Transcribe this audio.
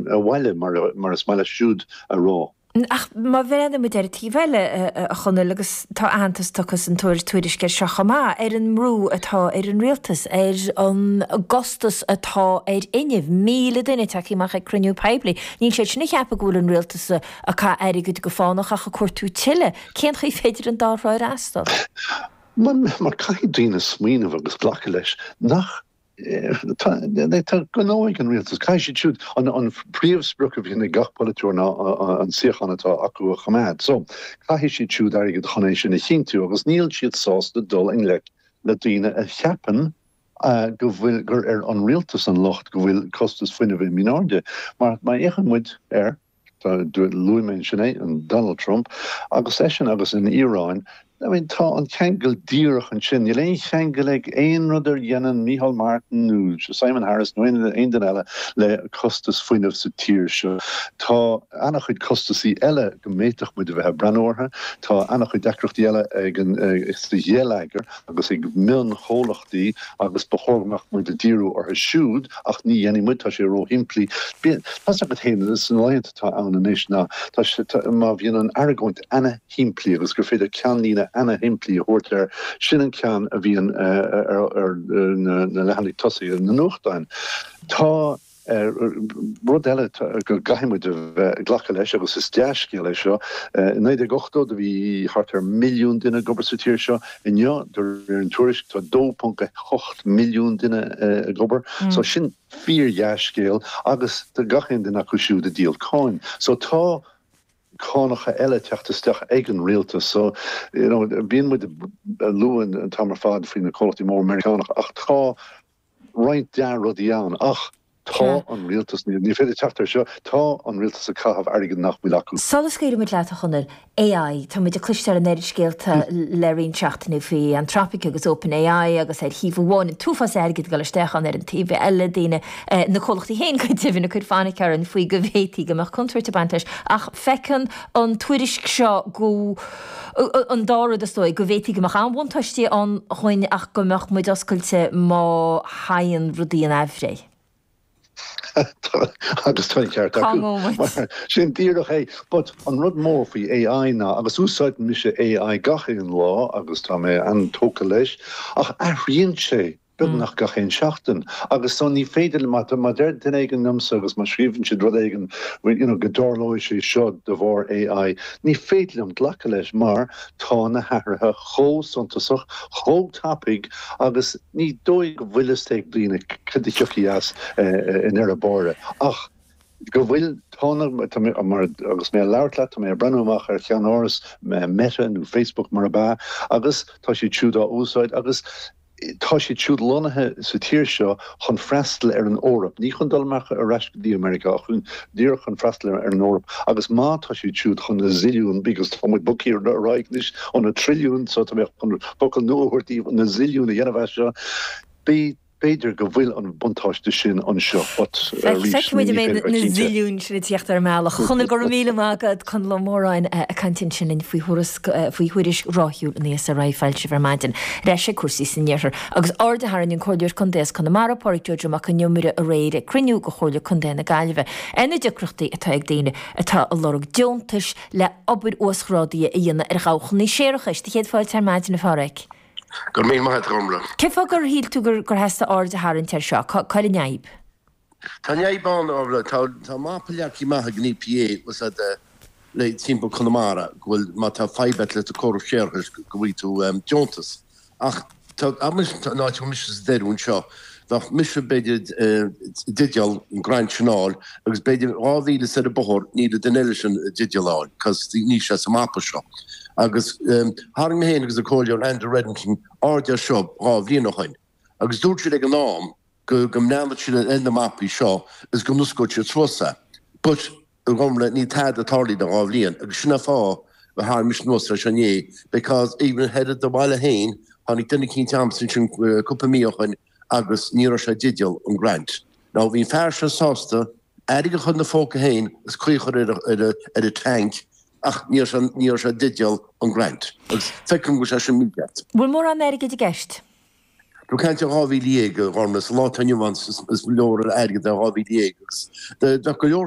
Abhaile mar is maith leis siúd a rá. Ach má bhreathnaíonn muid ar an taobh eile, a Chonaill, agus tá aitheantas tugtha san tuairisc air seo chomh maith, ar an mbrú atá ar an rialtas, ar an gcostas atá ar fhuinneamh, 1,000 duine tagtha amach ag cruinniú poiblí, níl siad sin ag ceapadh go bhfuil an rialtas ag caitheamh airgid go fánach ach ag cuartú tuilleadh. Cén chaoi féidir an dá thrá a fhreastal? Mar caithfidh daoine smaoineamh agus glacadh leis nach Tá gnó ag an rialtas. Caithfidh siad siúd, an príomhsprioc a bhíonn ag gach polaiteoir ná an suíochán atá acu a choimeád. So, caithfidh siad siúd airgead chun é sin a chinntiú agus níl siad sásta dul i ngleic le daoine a cheapann go bhfuil, gur ar an rialtas an locht go bhfuil costas fuinnimh imithe in airde. Mar má fhéachann muid ar. Luaigh mé ansin é, an Donald Trump, agus eisean agus an Iaráin, I mean tá an ceangal díreach ansin. Níl aon cheangal ag aon rud a dhéanann Micheál Martin nó Simon Harris nó aon duine eile le costas fuinnimh sa tír seo. Tá an-chuid costasaí eile go bhféadfadh muid a bheith ag breathnú orthu. Tá an-chuid deacrachtaí eile ag an, sa gheilleagar agus ag mionchomhlachtaí agus ba chóir go mbeadh muid ag díriú orthu siúd ach ní dhéanfaidh muid, tá sé róshimplí. Tá's agat féin, sna laethanta atá ann anois ná tá sé, má bhíonn an argóint ana-shimplí agus gur féidir ceannlíne ana-shimplí a thabhairt air, sin an ceann a bhíonn ar na leathanaigh tosaigh na nuachtáin. Tá rud eile go gcaithfidh muid a bheith ag glacadh leis agus is dea-scéal é seo, i 1980 do bhí thart ar mhilliún duine ag obair sa tír seo, inniu de réir an tuairisc tá 2.8 milliún duine ag obair. So sin fíor-dhea-scéal agus tá gach aon duine acu siúd ag díol cáin. So tá cánacha eile ag teacht isteach ag an rialtas. So, you know, bíonn muid ag lua an t-am ar fad faoi na comhlachtaí móra Meiriceánacha ach tá roinnt dea-rudaí ann. Ach tá an rialtas, ní féidir teacht ar seo, tá an rialtas ag caitheamh airgead nach bhfuil acu. Sula scaoilfidh muid leat, a Chonaill, AI, tá muid ag cloisteáil an oiread scéalta le roinnt seachtainí faoi Anthropic agus OpenAI agus ar thaobh amháin an t-uafás airgid ag dul isteach ann, ar an taobh eile daoine, na comhlachtaí féin go deimhin, ag cur fainic orainn faoi go bhféadfaí go mbeadh contúirt ag baint leis. Ach feiceann an tuairisc seo go, an dá rud is dóigh, go bhféadfaí go mbeadh an-bhuntáistí ann dhúinn ach go mbeadh muid oscailte má thagann rudaí in aimhréidh. Agus tá an ceart Cá ngabhfaidh acu. muid? Mar sin díreach é. But an rud mór faoi AI ná, agus úsáideann mise AI gach aon lá agus tá mé an-tógtha leis, ach athraíonn sé beagnach gach aon seachtain. Agus so ní féidir, má má deir duine éigin liomsa agus má scríobhann siad rud éigin you know go dtarlóidh sé seo de bharr AI, ní féidir liom glacadh leis mar tá na hathruithe chomh suntasach, chomh tapaidh agus ní dóigh go bhfuil fhios ag daoine cad a thiocfaidh as i ndeireadh báire ach go bhfuil, tá na, tá mé, mar, agus mé ag labhairt leat, tá mé ag breathnú amach ar cheannáras Meta nó Facebook mar ab ea agus tá siad siúd á úsáid agus tá siad siúd lonnaithe sa tír seo chun freastal ar an Eoraip, ní chun dul amach ar ais go dtí Meiriceá ach chun, díreach chun freastal ar an Eoraip agus má tá siad siúd chun na zilliúin, because tá muid bogtha ar aghaidh anois ó na trilliúin so tá mé chun focal nua a thabhairt daoibh, na zilliúin a dhéanamh as seo, b'fhéidir go bhfuil an buntáiste sin anseo but arís Feicfidh muid ní an mbeidh féidir a na bheith cinnte. zilliúin sin ag tíocht ar an mbealach. A Chonaill, go raibh míle maith agat. Conall Ó Móráin ag caint ansin linn faoi thuarasc, faoi thuairisc ráithiúil an ESRI foilsithe ar maidin. Ar ais ag cúrsaí san iarthar. Agus aird a tharraing an Comhairleoir Contae as Conamara, Pádraig Joe Joe Mac Con Iomaire aréir ag cruinniú de Chomhairle Contae na Gaillimhe ar na deacrachtaí atá ag daoine atá ag lorg deontais le obair uasghrádaithe a dhéanamh ar dhabhchanna séarachais. Do chéad fáilte ar maidin, a Phádraig. Go raibh míle maith agat, a Ghormfhlaith. Cén fáth gur shíl tú gur theastaigh aird a tharraingt air seo? Cá bhfuil an fhadhb? Tá an fhadhb ann, a Ghormfhlaith. Tá, tá mapa leagtha amach ag an EPA, bhfuil a fhios agat, le timpeall Conamara, go bhfuil, má tá fadhb agat le do córas séarachais, go bhfaighidh tú deontas. Ach tá, an áit a bhfuil mise sa Doire anseo, bheadh mise, b'fhéidir, i dteideal an grant sin a fháil, agus b'fhéidir 2,000 soir an bóthar, níl an duine eile sin i dteideal a fháil, cos níl sé sa mapa seo. Agus tharraing mé féin agus an Comhairleoir Andrew Reddington aird air seo dhá bhliain ó shoin, agus dúirt siad ag an am go go mbreathnódh siad ar na mapaí seo is go n-osclódh siad suas é. But, a Ghormfhlaith, níl tada tarlaithe le dhá bhliain, agus sin an fáth a tharraing mise anuas air seo inné, because even thoir i do bhaile féin, tháinig duine eicínt a'msa ansin cúpla mí ó shoin agus ní raibh sé i dteideal an grant. Now bhí an fear seo sásta airgead a chur ina phóca féin is caoi a chur ar ar a tank ach ní raibh sé ní raibh sé i dteideal an grant. Agus feicim go bhfuil sé sin mícheart. Bhfuil mórán airgid i gceist? Tá caint ar 12,000, a Ghormfhlaith, sa lá atá inniu ann is leor airgead é 12,000 agus bheadh go leor.